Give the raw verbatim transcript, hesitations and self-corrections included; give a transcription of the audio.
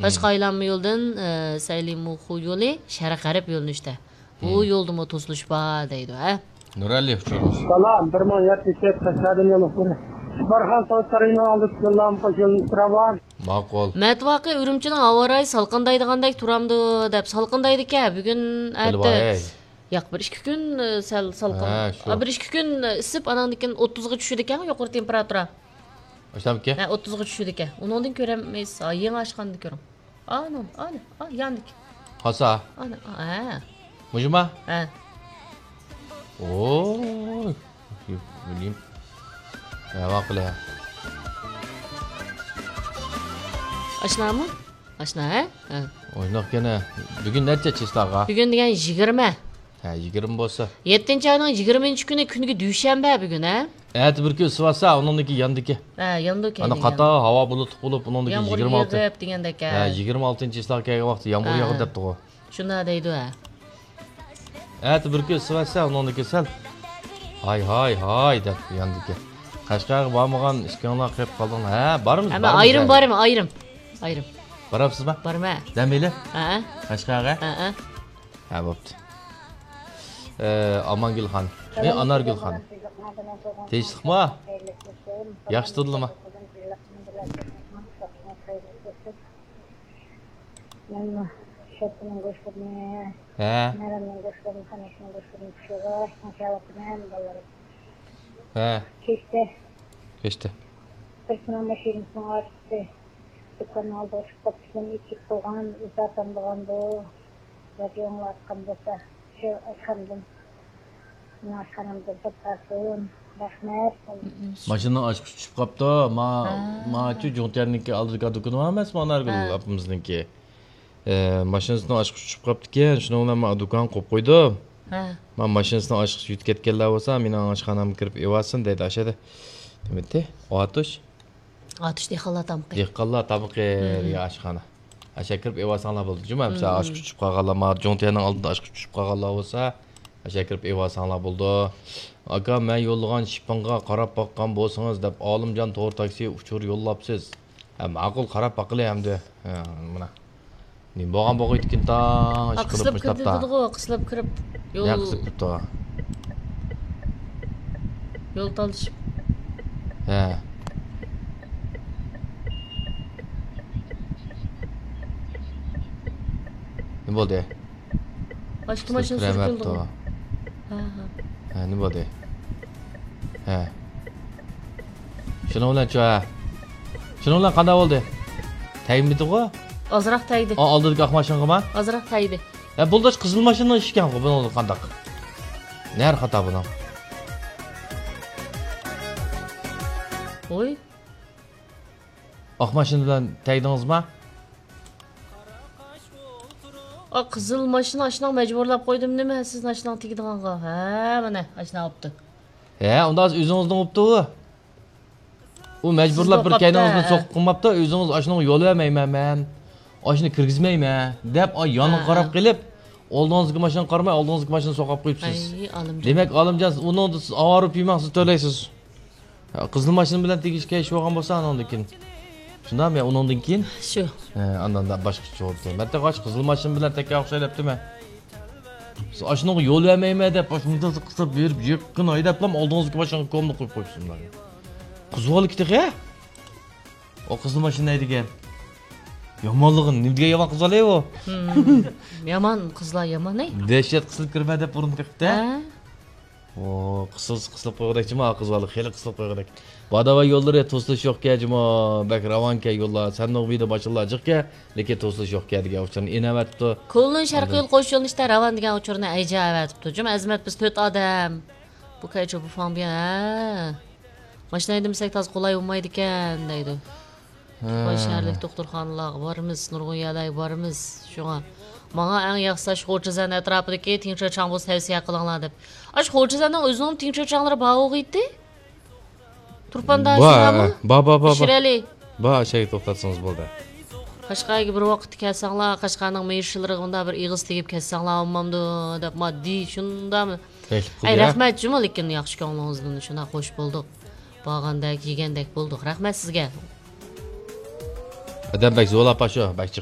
تاشقى ئايلانما يولدىن، ئە، سەيلىمۇخۇ يولى شەرق غەرب يۆنىلىشتە. بۇ يولدىمۇ توسۇلۇش بار دەيدۇ، ھە؟ نۇرئەلى ئۇچۇرىمىز. سالام، بىر مىڭ يەتتە يۈز تۆت قەشقەردىن يولۇقتۇر. بارخان سوۋېت سارىيىنىڭ ئالدىدا يوللام قوشۇلۇپ تۇرامدۇ؟ ماقۇل. مەتۋاقى ئۈرۈمچىنىڭ ھاۋا رايى سالقىندايدىغاندەك تۇرامدۇ دەپ، سالقىندايدىكەن بۈگۈن، ئەتە. ياق، بىر ئىككى كۈن، ئە، سەل سالقىن. ھە، شۇ. ئا، بىر ئىككى كۈن، ئە، ئىسسىپ، ئاناندىن كېيىن ئوتتۇزغا چۈشىدىكەن يۇقىرى تېمپېراتۇرا. ئاشتامىكەن؟ ھە، ئوتتۇزغا چۈشىدىكەن. ئۇنىڭدىن كۆرەلمەيسىز. ھا، يېڭى ئاچقاندا كۆرۈڭ. ئانا، ئانا، ئا، ياندىكى. قالسا؟ ئانا، ئا، ھە. مۇشۇما؟ ھە. ئوي، بىلمەيمەن. ھە، ۋاقىلە. ئاشنامۇ؟ ئاشنا، ھە؟ ھە. ئويناق كەنە. بۈگۈن نەچچە چىسلاغا؟ بۈگۈن دېگەن يىگىرمە. ھە، يىگىرمە بولسا. يەتتىنچى ئاينىڭ يىگىرمىنچى كۈنى، كۈنىگە دۈشەنبە بۈگۈن، ھە؟ ئەتە بىر كۈن ئىسسىۋاتسا، ئۇنىڭدىن كېيىن ياندىكى. ھە، ياندىكى. ئانا قاتار ھاۋا بۇلۇتلۇق بولۇپ، ئۇنىڭدىن كېيىن يامغۇر يىگىرمە ئالتە. يېغىپ دېگەندەك، ھە. ھە، يىگىرمە ئالتىنچى چىسلاغا كەلگەن ۋاقىتتا يامغۇر ھە. ياغىدۇ دەپتىغۇ. شۇنداق دەيدۇ، ھە. ئەتە بىر كۈن ئىسسىۋاتسا، ئۇنىڭدىن كېيىن سەل ھاي، ھاي، ھاي دەپ ياندىكى. قەشقەرگە بارمىغان ئىككىڭلار قېلىپ قالدىڭلار. ھە، بارىمىز، ئەمما بارىمىز ئايرىم، ھە. بارىمەن، ئايرىم. ئايرىم. بارامسىزما؟ بارىمەن. دەم ئېلىپ؟ ھە. قەشقەرگە؟ ھە. ھە، بوپتۇ. ئە، ئامانگۈل خان. ئە، ئانارگۈل خان. تىنچلىقما؟ ياخشى تۇردۇلما؟ مەنمۇ شەپتىنىڭ گۆشلىرىنى، ھە. مەرەمنىڭ گۆشلىرىنى، قاناشنىڭ گۆشلىرىنى پىشۇرۇپ، ماشاللا قىلىمەن بالىلىرىم. ھە. كەچتە. كەچتە. بىر كۈنى ماشىنىسىنىڭ ئارقىسى دۇكاننىڭ ئالدىغا چىقىپ قاپتىكەن، ئېچىپ قويغان، ئىزا تامدىغاندۇ. رادىيو ئاڭلاۋاتقان بولسا، شۇ ئاشخانىدىن، مېنىڭ ئاشخانامدىن توختاتسۇن. رەھمەت. ماشىنىنىڭ ئاچقۇچى چۈشۈپ قاپتۇ. ما، ھە. ماچۇ جۇڭتيەننىڭكى ئالدىدىكى دۇكىنى بار ئەمەسمۇ، ئانارگۈل ھە. ئاپىمىزنىڭكى. ئە، ماشىنىسىنىڭ ئاچقۇچى چۈشۈپ قاپتىكەن، شۇنىڭ بىلەن ما دۇكان قويۇپ قويدۇم. ھە. ما ماشىنىسىنىڭ ئاچقۇچى يۈتۈپ كەتكەنلەر بولسا، مېنىڭ ئاشخانامغا كىرىپ ئېلىۋالسۇن دەيدۇ، ئاشۇ يەردە. نېمە دېدى؟ ئاتۇش؟ ئاتۇش دېھقانلار تامىقى. دېھقانلار تامىقى مم. دېگەن ئاشخانا. ئاشۇ كىرىپ ئېلىۋالساڭلار بولدى. جۇمۇ، مىسال، مم. ئاچقۇچ چۈشۈپ قالغانلار، ما جۇڭتيەننىڭ ئالدىدا ئاچقۇچ چۈشۈپ قالغانلار بولسا، ئاشۇ كىرىپ ئېلىۋالساڭلار بولدى. ئاكا، مەن يوللىغان شىپىڭغا قاراپ باققان بولسىڭىز دەپ، ئالىمجان تور تاكسى ئۇچۇر يوللاپسىز. ھە، ماقۇل، قاراپ باقىلى ئەمدى. ھە، مانا. نېمە بولغان بولغىيدىكىن تاڭ، ھە، ئىشقىلىپ قىسىلىپ مۇشتاپتا. كىرىدىغۇ، قىسىلىپ كىرىپ. يول، يا قىسىلىپ كىرىپتۇ. يول تالىشىپ. ھە. نېمە بولدى؟ باشقا ماشىنا سۈرۈپ كېلىدىغۇ. ھە، ھە. ھە، نېمە بولدى؟ ھە. شۇنىڭ بىلەنچۇ، ھە. شۇنىڭ بىلەن قانداق بولدى؟ تەگمىدىغۇ؟ ئازراق تەگدى. ئا، ئالدىدىكى ئاق ماشىنىغىما؟ ئازراق تەگدى. ھە، بولدى، قىزىل ماشىنىنىڭ ئىشى ئىكەنغۇ، بۇنىڭ قانداق؟ نەر خاتا بۇنىڭ؟ ۋوي. ئاق ماشىنا بىلەن تەگدىڭىزما؟ ئا، قىزىل ماشىنا ئاشۇنداق مەجبۇرلاپ قويدۇم نېمە، سىزنى ئاشۇنداق تېگىدىغانغا؟ ھە، مانا، ئاشۇنداق بوپتۇ. ھە، ئۇنداق ئۆزىڭىزنىڭ بوپتۇ ئۇ. ئۇ مەجبۇرلاپ بىر كەينىڭىزدىن ھە. سوقۇپ قىلماپتۇ، ئۆزىڭىز ئاشۇنىڭغا يول بەرمەيمەن مەن. ئاشۇنى كىرگۈزمەيمەن، دەپ، ئا، يانغا ھە، قاراپ ھە. قېلىپ، ئالدىڭىزدىكى ماشىنىغا قارىماي، ئالدىڭىزدىكى ماشىنىنى سوقاپ قويۇپسىز. ئەي، ئالىمجان. دېمەك، ئالىمجان، ئۇنىڭدا سىز ئاۋارە بولۇپ يۈرمەڭ، سىز تۆلەيسىز. ھە، قىزىل ماشىنا بىلەن تېگىشكە ئىش بولغان بولسا، ئانىڭدىن كېيىن. شۇنداقمۇ يا ئۇنىڭدىن كېيىن؟ شۇ. ھە، ئاندىن باشقىچە بولدى. مەن تېخى قىزىل ماشىنا بىلەن تەككەن ئوخشاي دەپتىمەن. سىز ئاشۇنىڭغا يول بەرمەيمەن دەپ، ئاشۇنداق قىسىپ بېرىپ، يېقىن ھەيدەپلا ئالدىڭىزدىكى ماشىنىغا كومىنى قويۇپ قويۇپسىز. قىزىۋالدى تېخى. ئۇ قىزىل ماشىنا ھەيدىگەن. يامانلىقى نېمە دېگەن يامان قىزىۋالدى ئۇ؟ يامان قىزلار يامان، ئەي. دەھشەت قىسىلىپ كىرىمەن دەپ بۇرۇن قېقىپتۇ. ھە. ئو، قىسىلسا قىسىلىپ قويغۇدەكچىما، قىزىۋالدى، خېلى قىسىلىپ قويغۇدەك. باداۋا يوللىرى توسۇلۇش يوقكەن جۇمۇ، بەك راۋانكەن يوللار، سەننىڭ بىدە ماشىنىلار جىقكەن، لېكىن توسۇلۇش يوقكەن دېگەن ئۇچۇرنى ئېنىۋەتىپتۇ. كولدىن شەرقىي يول قوش يۆنىلىشتە راۋان دېگەن ئۇچۇرنى ئەيجە ئەۋەتىپتۇ. جۇمۇ ئەزىمەت، بىز تۆت ئادەم. بۇ كەيچۇ بۇ فاڭ بىيەن، ھە. ماشىنا ھەيدىمىسەك تازا قولاي بولمايدىكەن دەيدۇ. ھە. تۇرپان شەھەرلىك دوختۇرخانىلارغا بارىمىز، نۇرغۇن يەرلەرگە بارىمىز. شۇڭا ماڭا ئەڭ ياخشىسى ئاشۇ خۇجىزەن ئەتراپىدىكى تىڭچۆچاڭ بولسا تەۋسىيە قىلىڭلار دەپ. ئاشۇ خۇجىزەننىڭ ئۆزىنىڭ تىڭچۆچاڭلىرى بار بولغىيتتى. تۇرپاندا بار، شۇنداقمۇ؟ بار، بار، بار، بار. پىشىرەلى. بار، ئاشەگە توختاتسىڭىز بولدى. قەشقەرگە بىر ۋاقىتتا كەلسەڭلار، قەشقەرنىڭ مېيىشلىرىغا مۇنداق بىر ئېغىز تېگىپ كەتسەڭلار بولمامدۇ دەپ، ماددىي شۇنداقمۇ؟ تەكلىپ ئەي، قىلدى، ھە؟ رەھمەت جۇمۇ، لېكىن ياخشى كۆڭلىڭىزدىن شۇنداق خوش بولدۇق. بارغاندەك، يېگەندەك بولدۇق. رەھمەت سىزگە. ئادەم بەك زورلاپ شۇ، بەك جىق